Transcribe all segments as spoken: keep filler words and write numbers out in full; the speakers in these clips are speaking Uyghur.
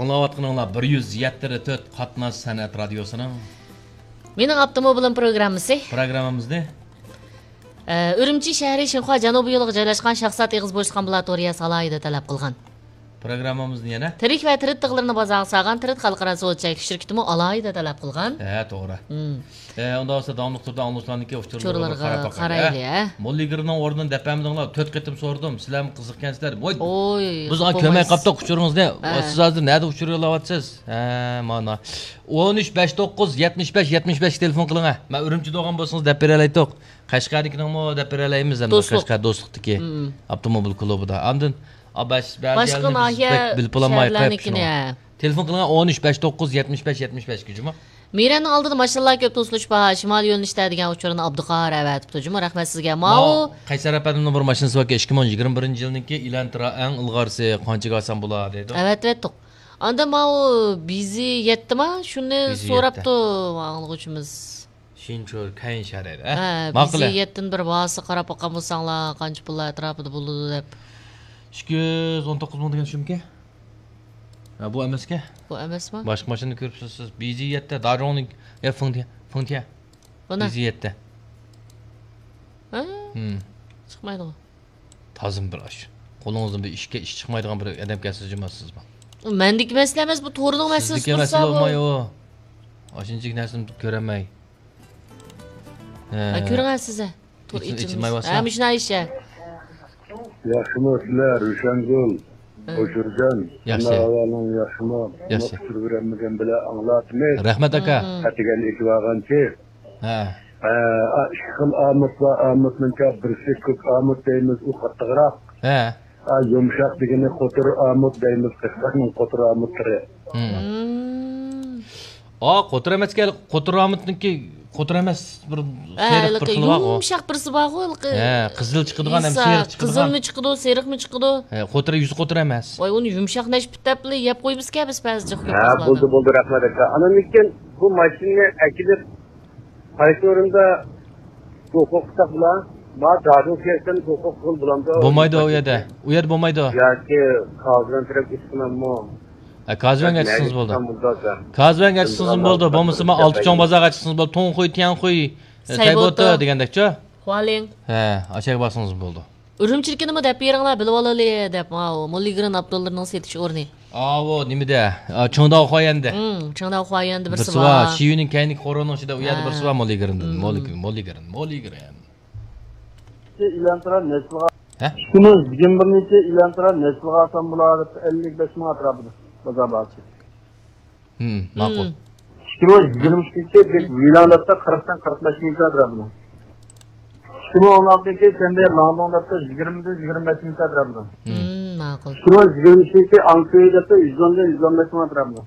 ئاڭلاۋاتقىنىڭلار بىر يۈز يەتتە تۆت قاتناش سەنئەت رادىيوسىنىڭ مېنىڭ ئاپتوموبىلىم پروگراممىسى. پروگراممىمىزنى ئە، ئۈرۈمچى شەھىرى شىنخۇا جەنۇبىي يولىغا جايلاشقان شاھزات ئېغىز بوشلۇق ئامبۇلاتورىيەسى ئالاھىدە تەلەپ قىلغان. پروگراممىمىزنى يەنە تىرىك ۋە تىرىت تىغلىرىنى بازارغا سالغان تىرىت خەلقئارا سودا چەكلىك شىركىتىمۇ ئالاھىدە تەلەپ قىلغان. ھە، توغرا. مم. ئە، ئۇنداق بولسا داۋاملىق تۇردا ئاڭلىغۇچىلارنىڭكى ئۇچۇرلىرىغا ئۇچۇرلىرىغا قاراپ باقايلى، قارايلى، ھە؟ ھە؟ موللىگىرنىڭ ئورنىنى دەپ بەرمىدىڭلار. تۆت قېتىم سورىدىم. سىلەرمۇ قىزىقكەنسىلەر. ۋوي، ئوي، بىز ئاڭا كۆرمەي قاپتۇق ئۇچۇرىڭىزنى. ھە. سىز ھازىر نەدە ئۇچۇر يوللاۋاتىسىز؟ ھە، مانا. ئون ئۈچ بەش توققۇز يەتمىش بەش يەتمىش بەشكە تېلېفون قىلىڭ، ھە. مەن ئۈرۈمچىدە بولغان بولسىڭىز دەپ بېرەلەيتتۇق. قەشقەردىكىنىڭمۇ دەپ بېرەلەيمىز ئەمدى. دوستلۇق. قەشقەر دوستلۇقتىكى مم. ئاپتوموبىل كلۇبىدا. ئاندىن، ئا، بەش، بەزى باشقا يەرلەرنى بىز ناھىيە بەك بىلىپ بولالماي قېلىپتۇ شۇ. شەھەرلەرنىڭكىنى، ھە. تېلېفون قىلىڭ، ئون ئۈچ بەش توققۇز يەتمىش بەش يەتمىش بەش، جۇمۇ. مىرەننىڭ ئالدىدا ماشىنىلار كۆپ، توسۇلۇش بار، شىمالىي يۆنىلىشتە دېگەن ئۇچۇرنى ئابدۇقاھار ئەۋەتىپتۇ، جۇمۇ. رەھمەت سىزگە. ماۋۇ ماۋۇ قەيسەر ئەپەندىمنىڭ بىر ماشىنىسى باركەن، ئىككى مىڭ يىگىرمە بىرىنچى يىلنىڭكى ئىلانترا ئەڭ ئىلغارسى، قانچىگە ئالسام بولا دەيدۇ. ئەۋەتىۋەتتۇق. ئاندىن ماۋۇ بىزى يەتتىما؟ شۇنى بىزى سوراپتۇ ئاڭلىغۇچىمىز. شىنچۇ كەينشەرەر، ھە؟ ھە، ماقۇل. بىزى يەتتىن بىر ۋاسا قاراپ باققان بولساڭلار، قانچە پۇللار ئەتراپىدا بولىدۇ دەپ. ئىككى يۈز ئون توققۇز مىڭ دېگەن شۇمىكەن؟ ھە، بۇ ئەمەسكەن؟ بۇ ئەمەسمۇ؟ باشقا ماشىنىنى كۆرۈپسىز سىز. بىزى يەتتە، داجۇڭنىڭ، يا، فېڭتيە، فېڭتيە. بۇنى؟ بىزى يەتتە. ھە؟ ھىم. چىقمايدىغۇ. تازىمۇ بىر ئاش. قولىڭىزدىن بىر ئىشكە ئىش چىقمايدىغان بىر ئادەمكەنسىز جۇمۇ سىزمۇ. مەندىكى مەسىلە ئەمەس، بۇ تورنىڭ مەسىلىسى سىزدىكى مەسىلە بولسا بولماي بۇ. ئاشۇنچىلىك نەرسىنى كۆرەلمەي. ھە. ھە، كۆرۈڭە سىز. تور ئېچىلماي، ئېچىلمايۋاتسا. ھە، مۇشۇنداق ئىش. ياخشىمۇ سىلەر، روشەنگۈل، ھە. ھوشۇرجان؟ ياخشى. ئەمما ئەھۋالىڭ ياخشىمۇ؟ ياخشى. ئۇچۇر بېرەلمىگەن بىلەن ئاڭلاتىمىز. رەھمەت، ئاكا. ھىم. ئەتىگەن ئېچىۋالغانچە. ھە. ھە، ئا، ئىككى خىل ئامۇت بار. ئامۇتنىڭكى بىرسى كۆك ئامۇت دەيمىز، ئۇ قاتتىقراق. ھە. ئا، يۇمشاق دېگىنى قوتۇر ئامۇت دەيمىز، قەشقەرنىڭ قوتۇر ئامۇتلىرى. ھىم. ھىم. ئا، قوتۇر ئەمەسكەن، قوتۇر ئامۇتنىڭكى قوتۇر ئەمەس، بىر ھە، سېرىق بىر ھېلىقى خىلى بارغۇ. يۇمشاق بىرسى بارغۇ، ھېلىقى. ھە، قىزىل چىقىدىغان ھەم سېرىق چىقىدىغان. قىزىلمۇ چىقىدۇ، سېرىقمۇ چىقىدۇ. ھە، قوتۇر، يۈزى قوتۇر ئەمەس. ۋاي، ئۇنى يۇمشاق نەشپۈت دەپلا يەپ قويىمىزكەن بىز بەزى جىق ھە، بولدى، بولدى، رەھمەت ئاكا. ئاندىن كېيىن بۇ ماشىنىنى ئەكېلىپ قايسى ئورۇندا ھوقۇق قىلساق بولا؟ ما دادىن كەلسەم ھوقۇق قىل بولامدۇ؟ بولمايدۇ ئۇ يەردە. ئۇ يەردە بولمايدۇ. ياكى كازىۋەن تەرەپ ئىشقىلاممۇ؟ ھە، كازىۋەنگە چىقسىڭىز بولدى. كازىۋەنگە چىقسىڭىز بولدى. بولمىسا ما ئالتە چوڭ بازارغا چىقسىڭىز بولدى. توڭخۇي، تيەنخۇي، ئە، سەيبوتو. سەيبوتو دېگەندەكچۇ؟ خۇالىڭ. ھە، ئاشۇ يەرگە بارسىڭىز بولدى. ئۈرۈمچىدىكىنىمۇ دەپ بېرىڭلار، بىلىۋالايلى دەپ، ماۋۇ موللىگرېن ئاپتولىرىنىڭ سېتىش ئورنى. ئاۋۇ نېمىدە؟ ئا، چېڭداۋ خۇايۈەندە. ھىم، چېڭداۋ خۇايۈەندە بىرسى بىرسى بار. بار. شىيۈنىڭ كەينىدىكى قورۇنىڭ ئىچىدە ئۇ يەردە ھە. بىرسى بار موللىگرېندىن. ھىم. موللىگرېن، موللىگرېن، موللىگرېن. ئىلانترا نەسلىگە. ھە؟ ئىككى مىڭ يىگىرمە بىرىنچى ئىلانترا نەسلىگە ئالسام بولار دەپ ئەللىك بەش مىڭ ئەتراپىدا بازار باھاسى. ھىم، ماقۇل. ھىم. ئىككى مىڭ يىگىرمە ئۈچىنچى بىر ۋىلايەتتە قىرىقتىن قىرىق بەش مىڭ ئەتراپىدا. ئىككى مىڭ ئون ئالتىنچى سەندە لاڭدوڭ دەپتۇ، يىگىرمىدىن يىگىرمە بەش مىڭ ئەتراپىدا. ھىم. ھىم، ماقۇل. ئىككى مىڭ يىگىرمە ئۈچىنچى ئاڭكۆي دەپتۇ، يۈز ئوندىن يۈز ئون بەش مىڭ ئەتراپىدا.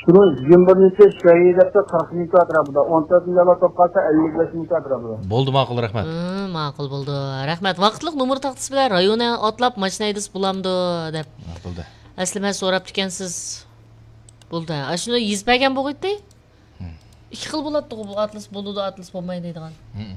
ئىككى مىڭ يىگىرمە بىرىنچى شەيئى دەپتۇ، قىرىق مىڭ ئەتراپىدا. ئون تۆتىنچى ئايلار توپ قالسا ئەللىك بەش مىڭ ئەتراپىدا. بولدى، ماقۇل، رەھمەت. ھىم، ماقۇل بولدى. رەھمەت. ۋاقىتلىق نومۇر تاختىسى بىلەن رايونى ئاتلاپ ماشىنا ھەيدىسە بولامدۇ دەپ. ماقۇلدى. ئەسلى مەن سوراپتىكەنسىز. بولدى. ئاشۇنى يېزىپ بەرگەن بولغىيتتى. ھىم. ئىككى خىل بولاتتىغۇ، بۇ ئاتلىسا بولىدۇ، ئاتلىسا بولمايدۇ دەيدىغان. ھىم.